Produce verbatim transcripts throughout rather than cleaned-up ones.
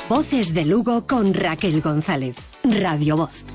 Voces de Lugo con Raquel González. Radio Voz.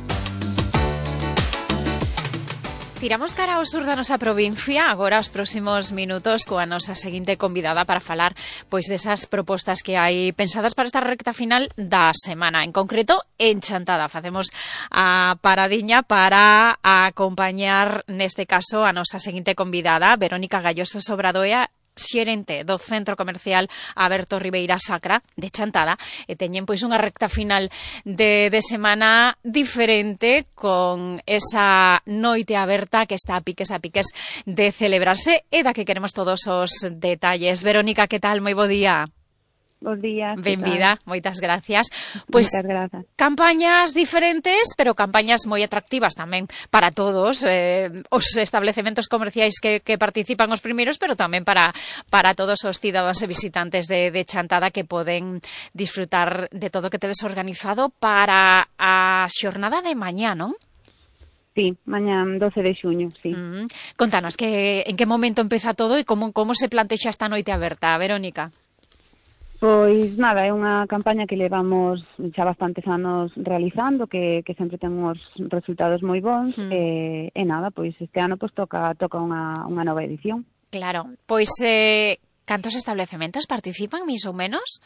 Tiramos cara ao sur da nosa provincia, agora os próximos minutos coa nosa seguinte convidada para falar pois desas propostas que hai pensadas para esta recta final da semana. En concreto, en Chantada. Facemos a paradiña para acompañar neste caso a nosa seguinte convidada, Verónica Galloso Sobradoia, xerente do Centro Comercial Aberto Ribeira Sacra de Chantada, e teñen pois unha recta final de, de semana diferente con esa noite aberta que está a piques a piques de celebrarse e da que queremos todos os detalles. Verónica, que tal? Moi bo día. Bos días. Benvida, moitas gracias. Pois grazas. Campañas diferentes, pero campañas moi atractivas tamén para todos, eh, os establecementos comerciais que, que participan os primeiros, pero tamén para para todos os cidadáns e visitantes de, de Chantada que poden disfrutar de todo o que tedes organizado para a xornada de mañá, non? Sí, mañá doce de xuño, sí. Mm. Contanos, que, en que momento empeza todo e como, como se plantexa esta noite aberta, Verónica? Pois nada, é unha campaña que levamos xa bastantes anos realizando, que, que sempre ten uns resultados moi bons, mm. e, e nada, pois este ano pois toca toca unha, unha nova edición. Claro, pois eh, cantos establecementos participan, máis ou menos?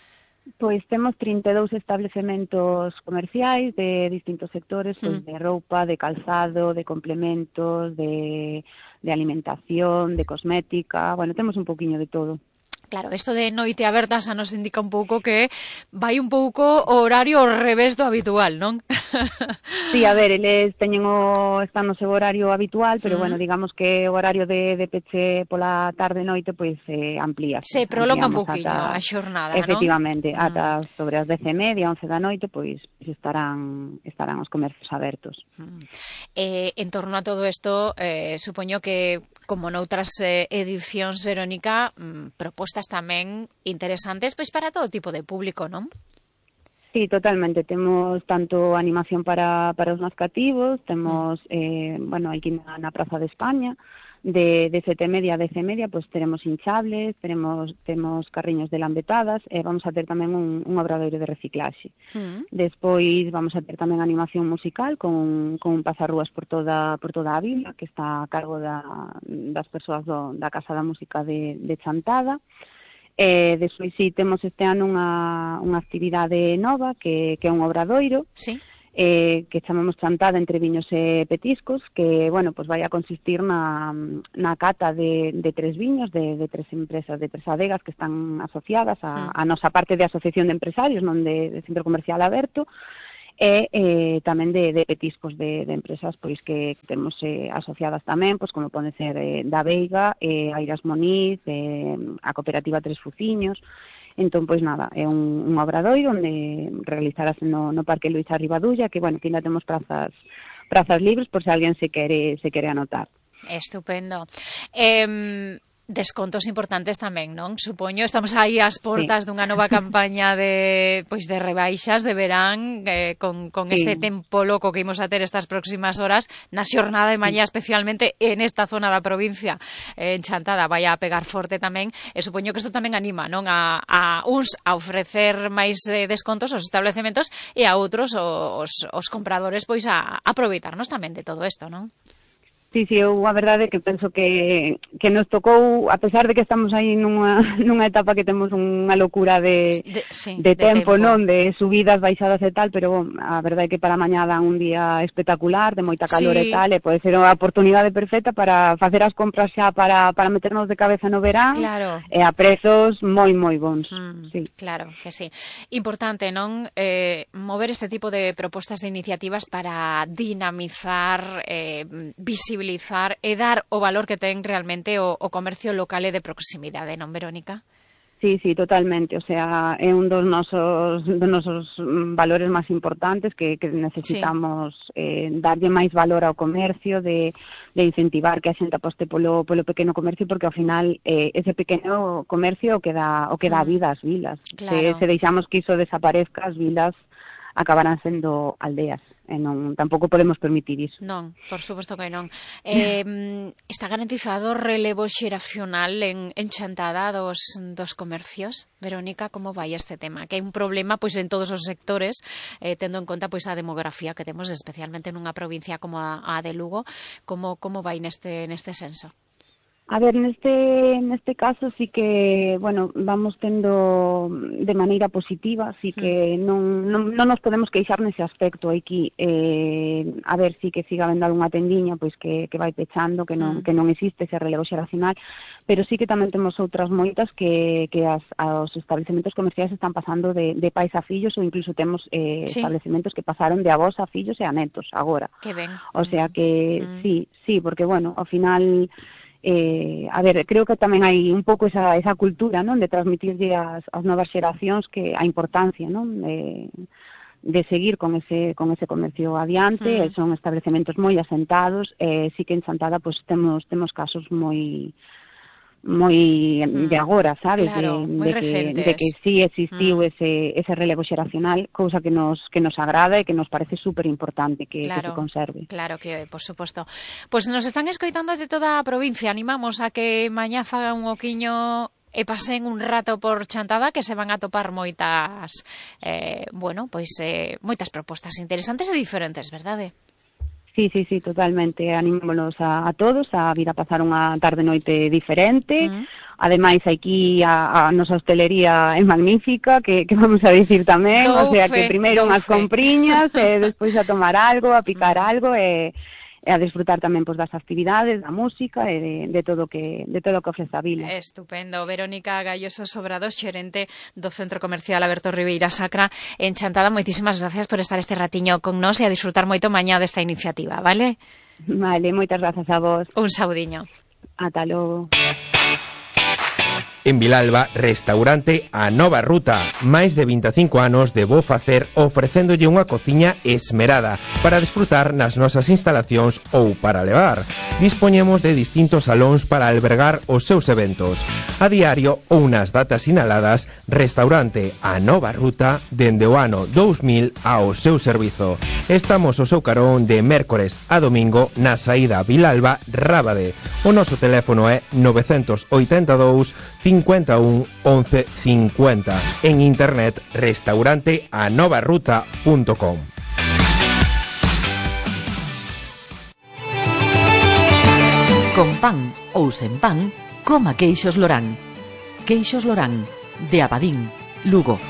Pois temos trinta e dous establecementos comerciais de distintos sectores, pois mm. de roupa, de calzado, de complementos, de, de alimentación, de cosmética, bueno, temos un pouquiño de todo. Claro, isto de noite aberta xa nos indica un pouco que vai un pouco o horario ao revés do habitual, non? Sí, a ver, eles teñen o, están no seu horario habitual, pero, mm. bueno, digamos que o horario de, de peche pola tarde e noite, pois, eh, amplía. Se prolonga un pouquinho a xornada, non? Efectivamente, mm. ata sobre as dez e media, once da noite, pois, estarán estarán os comercios abertos. Mm. Eh, en torno a todo isto, eh, supoño que, como noutras eh, edicións, Verónica, mm, propostas tamén interesantes pois para todo tipo de público, non? Sí, totalmente. Temos tanto animación para, para os máis cativos, temos, eh, bueno, aquí na, na Praza de España, de, de sete e media a dez e media, pois teremos hinchables, teremos, temos carriños de lambetadas, e vamos a ter tamén un, un obradoiro de reciclaxe. Mm. Despois vamos a ter tamén animación musical con, con un pasarrúas por toda, por toda a vila, que está a cargo da, das persoas do, da Casa da Música de, de Chantada. E despois sí, temos este ano unha, unha actividade nova que, que é un obradoiro. Sí. Eh, que chamamos Chantada entre viños e petiscos, que, bueno, pues vai a consistir na, na cata de, de tres viños, de, de tres empresas, de tres adegas que están asociadas a, a nosa parte de asociación de empresarios, non de, de Centro Comercial Aberto, e eh, tamén de, de petiscos de, de empresas pois que temos eh, asociadas tamén, pois como pode ser eh, da Veiga, eh, Airas Moniz, eh, a cooperativa Tres Fuciños. Entón, pois nada, é un, un obradoiro onde realizarase no, no Parque Luís Arribadulla, que, bueno, que ainda temos prazas prazas libres por se alguén se quere se quere anotar. Estupendo. Eh, Descontos importantes tamén, non? Supoño, estamos aí ás portas sí. dunha nova campaña de pois de rebaixas de verán, eh, con, con sí. este tempo loco que imos a ter estas próximas horas, na xornada de mañá sí. especialmente en esta zona da provincia, eh, en Chantada, vai a pegar forte tamén, e supoño que isto tamén anima, non? A, a uns a ofrecer máis eh, descontos aos establecementos e a outros os, os compradores pois a, a aproveitarnos tamén de todo isto, non? Sí, sí, eu a verdade é que penso que, que nos tocou, a pesar de que estamos aí nunha, nunha etapa que temos unha locura de, de, sí, de, tempo, de tempo, non? De subidas, baixadas e tal, pero bon, a verdade é que para mañá dan un día espectacular, de moita calor sí. e tal, e pode ser unha oportunidade perfecta para facer as compras xa para, para meternos de cabeza no verán, claro. e a prezos moi, moi bons. Mm, sí. Claro que sí. Importante, non? Eh, mover este tipo de propostas de iniciativas para dinamizar, eh, visibilizar e dar o valor que ten realmente o, o comercio local e de proximidade, non, Verónica? Sí, sí, totalmente. O sea, é un dos nosos, dos nosos valores máis importantes que, que necesitamos sí. eh, darlle máis valor ao comercio, de, de incentivar que a xente aposte polo, polo pequeno comercio, porque ao final eh, ese pequeno comercio o que dá, o que dá vida ás vilas. Claro. Se, se deixamos que iso desaparezca, as vilas acabarán sendo aldeas. e non, tampouco podemos permitir iso. Non, por suposto que non. Eh, está garantizado o relevo xeracional en, en Chantada dos, dos comercios? Verónica, como vai este tema? Que hai un problema pois en todos os sectores, eh, tendo en conta pois a demografía que temos, especialmente nunha provincia como a, a de Lugo. Como, como vai neste, neste senso? A ver, neste neste caso sí que, bueno, vamos tendo de maneira positiva, sí que non, non, non nos podemos queixar nese aspecto aquí. Eh, a ver, sí que siga vendo algunha tendiña pois que, que vai pechando, que non, que non existe ese relevo xeracional, pero sí que tamén temos outras moitas que, que as, os establecementos comerciais están pasando de, de pais a fillos, ou incluso temos eh, sí. establecementos que pasaron de avós a fillos e a netos agora. Que ben. O sea que mm. sí, sí, porque, bueno, ao final... Eh, a ver, creo que tamén hai un pouco esa, esa cultura, non, de transmitirlle as, as novas xeracións que a importancia, non, de, de seguir con ese con ese comercio adiante. Mm. Son establecementos moi asentados, eh, sí que en Chantada pues, temos temos casos moi moi mm. de agora, sabes, claro, de, de, que, de que sí existiu mm. ese, ese relevo xeracional, cousa que nos que nos agrada e que nos parece super importante que, claro, que se conserve. Claro que, por suposto. Pois pues nos están escoitando de toda a provincia, animamos a que mañá fagan un oquiño e pasen un rato por Chantada, que se van a topar moitas eh, bueno, pois eh, moitas propostas interesantes e diferentes, verdade? Sí, sí, sí, totalmente. Animámonos a, a todos a vir a pasar unha tarde-noite diferente. Uh-huh. Ademais, aquí a, a nosa hostelería é magnífica, que, que vamos a dicir tamén. Do o sea, fe, que primeiro unhas compriñas, e despois a tomar algo, a picar uh-huh. algo, e, e a disfrutar tamén pois, das actividades, da música e de, de todo que de todo que ofrece a vila. Estupendo. Verónica Gayoso Sobrados, xerente do Centro Comercial Alberto Ribeira Sacra en Chantada, moitísimas gracias por estar este ratiño con nós e a disfrutar moito mañá desta iniciativa, vale? Vale, moitas grazas a vos. Un saudiño. Ata logo. En Vilalba, restaurante A Nova Ruta. Máis de vinte e cinco anos de bo facer ofrecéndolle unha cociña esmerada para desfrutar nas nosas instalacións ou para levar. Dispoñemos de distintos salóns para albergar os seus eventos. A diario ou nas datas sinaladas, restaurante A Nova Ruta dende o ano dous mil ao seu servizo. Estamos ao seu carón de mércores a domingo na saída Vilalba-Rábade. O noso teléfono é nove oito dous, cincuenta e un, once cincuenta. En internet, restaurante a nova ruta punto com. Con pan ou sen pan, coma queixos Lorán. Queixos Lorán, de Abadín, Lugo.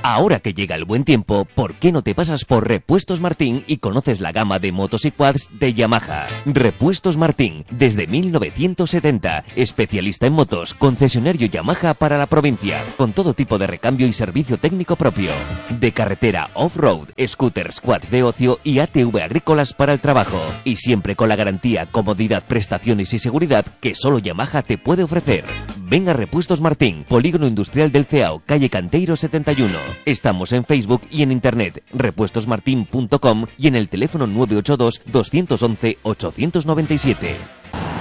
Ahora que llega el buen tiempo, ¿por qué no te pasas por Repuestos Martín y conoces la gama de motos y quads de Yamaha? Repuestos Martín, desde mil novecientos setenta, especialista en motos, concesionario Yamaha para la provincia, con todo tipo de recambio y servicio técnico propio. De carretera, off-road, scooters, quads de ocio y A T V agrícolas para el trabajo. Y siempre con la garantía, comodidad, prestaciones y seguridad que solo Yamaha te puede ofrecer. Ven a Repuestos Martín, Polígono Industrial del Ceao, calle Canteiro setenta y uno. Estamos en Facebook y en internet, repuestos martin punto com y en el teléfono nueve ocho dos, dos once, ocho nueve siete.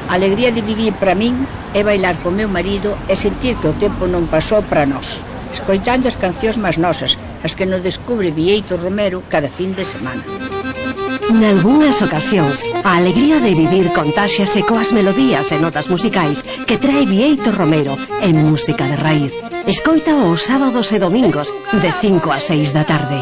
A alegría de vivir para min é bailar con meu marido e sentir que o tempo non pasou para nós, escoitando as cancións máis nosas, as que nos descubre Vieito Romero cada fin de semana. Nalgúnas ocasións, a alegría de vivir contáxiase coas melodías e notas musicais que trae Vieito Romero en música de raíz. Escoita os sábados e domingos de cinco a seis da tarde.